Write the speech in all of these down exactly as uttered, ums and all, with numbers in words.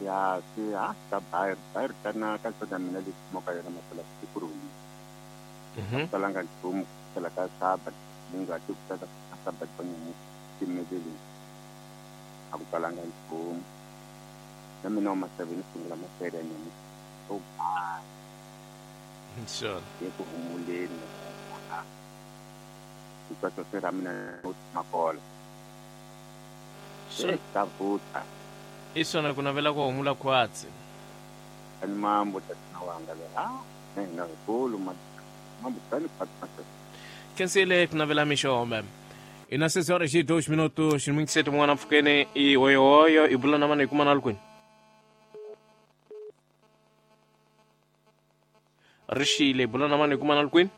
Ya swi ha ka bayir bayir tana ka sona mina lexi moka yona masala sikuruni. Mhm. Talanga nchumu kela ka saba ninga ti ku tata ka saba toni timedeli. A ku talanga nchumu. Na mina ma seven sungula mafere ni. Oh ba. Sure. Ye ku humuleni. Ku ta sera mina makola. Sure. Ta vuta. Isona ku navela ku humula khwatsi. Ani mambo tatana wanga le. Ah, ne na kulu ma mambo tani khwatsi. Kensile ku navela mixombe. Ina seis horas e dois minutos, muito cedo mwana mfukene e oyo oyo ibula na mane kuma nalkwini. Rishile ibula na mane kuma nalkwini.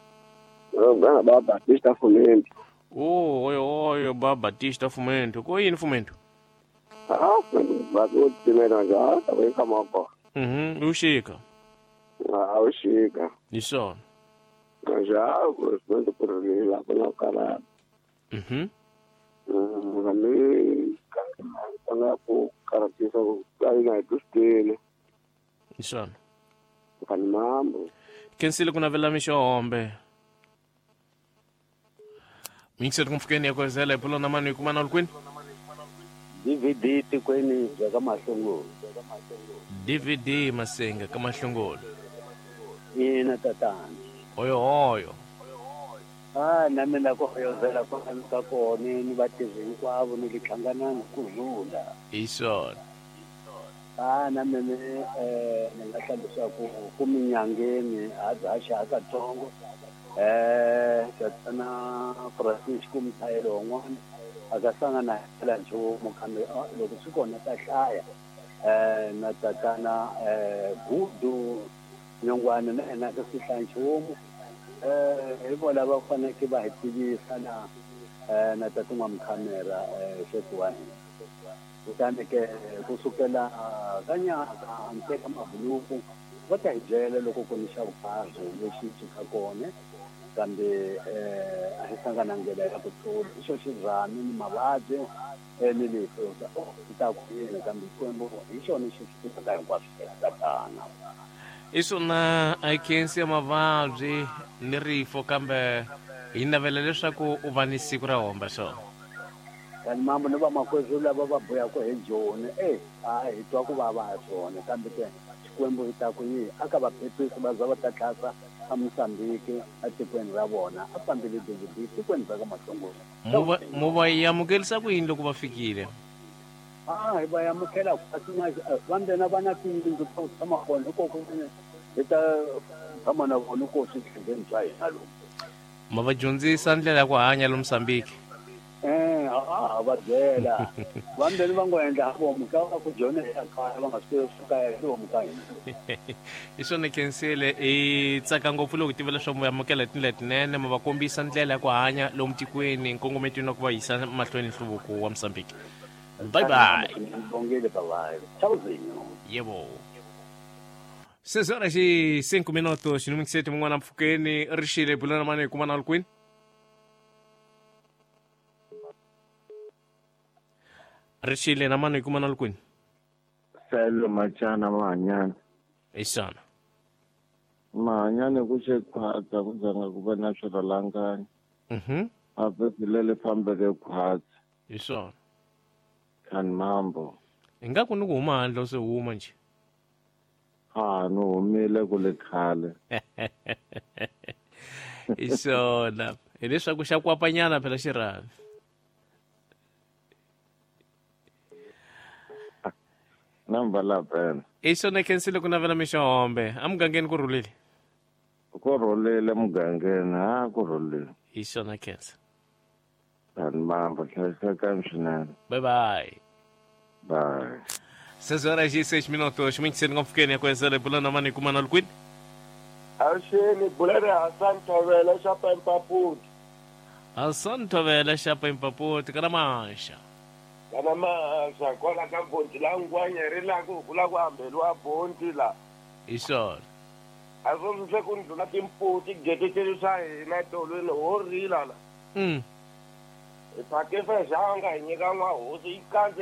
Oh, bana ba Batista Fumento. Oh, oyo oyo ba Batista Fumento. Ko yini Fumento? Ah, vakutimela njalo weka moko. Mhm, ushika. Ah, ushika. Isona. Njalo kusenza kurila kuna kala. Mhm. Mm, ngami kana ku karatisa ku kaina dustele. Isona. Kani mambo. Kensile kuna vela mishombe. Mixer kumfukeni yakozela ipulo na mani kuma nalkwini. D V D tikweni bya ka Mahlongolo. D V D Masenga ka Mahlongolo. Ina tatana. Oyo oyo. Ah, na mina ku hoyozela ku ka kona ni vatirhi hinkwavo ni lihlangana ku rhula. Isona. Ah, na mina eh ni nga hla leswaku ku minyangeni a bya xa katsongo. Eh, tatana Francisco Mthayelo un'wana akasanga na hela nchumu kambe loko swi kona ta hlaya eh na tatana eh Gudu Nyongwana na yena ka swi hlaya nchumu eh hi vona va faneke va hi tivisa na eh na tata N'wamkhamera eh xefu wa hina kutani ke kusukela ka nyaka nteka mabuluku va ta hi byela loko ku ni xa vukarhi lexi xi ka kona kambe eh a hi hlangana ndlela ya ku tlula xo xirhami ni mavabyi ni lefu ta ku yini kambe Xikwembu hi xona xi swi tivaka hinkwaswo tatana. Isona a khensi ya mavabyi ni rifo kambe hi navela leswaku u va ni siku ra homba swona. Kani mambo ni vamakwerhu lava va buyaka hi Joni e a hi twa ku vava ha swona kambe ke Xikwembu hi ta ku yi a ka va phephisi va za va ta tlhasa a Mozambique atikweni ra vona a fambile D V D tikweni ra ka Mahlongolo. Mo va amukelisa ku yini loko va fikile? Ah, hi va amukela kasi va ndzena va na tiyindlu ta ku tshama kona hikoko hi ta tshama na vona ko switlhembeni swa hina lomu. Ma va dyondzisa ndlela ya ku hanya lomu Mozambique? Eh, a va byela. Va ndzeni va ngo endla vomu ka va ku dyondza ya kaya va nga swi suka ya lomu ka hina. Isona khensile i tsaka ngopfu loko tiva leswaku mi amukela tindlela tinene ma va kombisa ndlela ya ku hanya lomu tikweni nkongometweni wa ku va yisa mahlweni nhluvuko wa Mozambique. Bye bye. Bongile bye bye. Tchauzinho. Yebo. Seis horas e cinco minutos no sete mwana mfukeni rishile bulana mane kuma nalkwini. Rishile na mane kuma nalkwini. Selo machana mahanyana. Isana. Mahanyana ku xe khwatsa ku zanga ku va na swirhalanganya. Mhm. A vhele fambele khwatsa. Isana. Kani mambo. Ingaku ni ku huma handle se huma nje. Ha no humile ku le khale. Isona. Hileswaku xa kwapanyana phela xirhavi. Namba la phela. Isona khensile ku navela mixombe. Amugangeni ku rhulile. Ku rhulile mugangeni, ha ku rhulile. Isona khensa. Kani mambo hlayisekani swinene. Bye bye. Bye. Seis horas e seis minutos, muito cedo com fiquei com essa bulana mani kuma nalkwini. Awuxeni bulana Hassan Thovela xa Pampaputi. Hassan Thovela xa Pampaputi kana manxa. Kana manxa kwala ka bonti la ngwanya ri la ku kula ku ambeliwa bonti la. Isona. A swo swi ku ndlula timputi geteteli swa hina tolweni ho rila la. Mm. Hi phake fexanga hi nyika n'wahosi yi kandze